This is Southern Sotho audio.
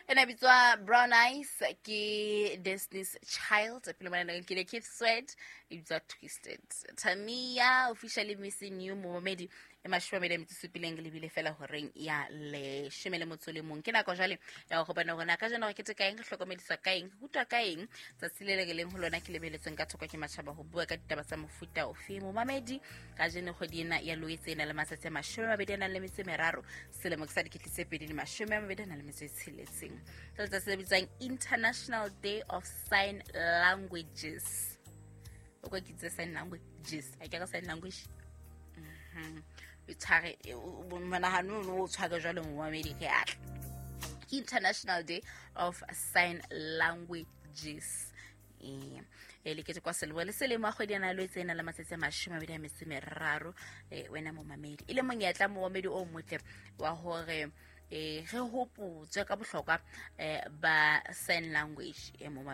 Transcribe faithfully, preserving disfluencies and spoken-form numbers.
Ena bitswa Brown Eyes ke Destiny's Child. Pele mona ke le Keith Sweat e bitswa Twisted. Tamia officially missing you, momamedi. E mashome a mabedi a metso e supileng le bile fela horeng ya leshome le motso le mong. Ke nako jwale ya go bona hore na kajeno re keteka eng, re hlokomediswa ka eng, re rutwa ka eng. Tsatsi le le re leng ho lona ke lebeletsweng ka thoko ke matjhaba ho bua ka ditaba tsa mofuta ofe. Momamedi, kajeno kgwedi ena ya Loetse e na le matsatsi a mashome a mabedi a nang le metso e meraro, selemo ke sa dikete tse pedi le mashome a mabedi a nang le metso e tsheletseng. Ke letsatsi le bitswang International Day of Sign Languages. O kwa ke itse sign languages, ha ke re sign language. Mhm. O tshware monahano ono, o tshware jwalo, momamedi, ke atla. Ke International Day of Sign Languages. Ee, e le ketekwa selemo le selemo a kgwedi ena Loetse e na le matsatsi a mashome a mabedi a metso e meraro. eh, wena momamedi, e le monyetla, momamedi o motle wa hore eh re hopotswe ka bohlokwa eh ba sign language e momamedi.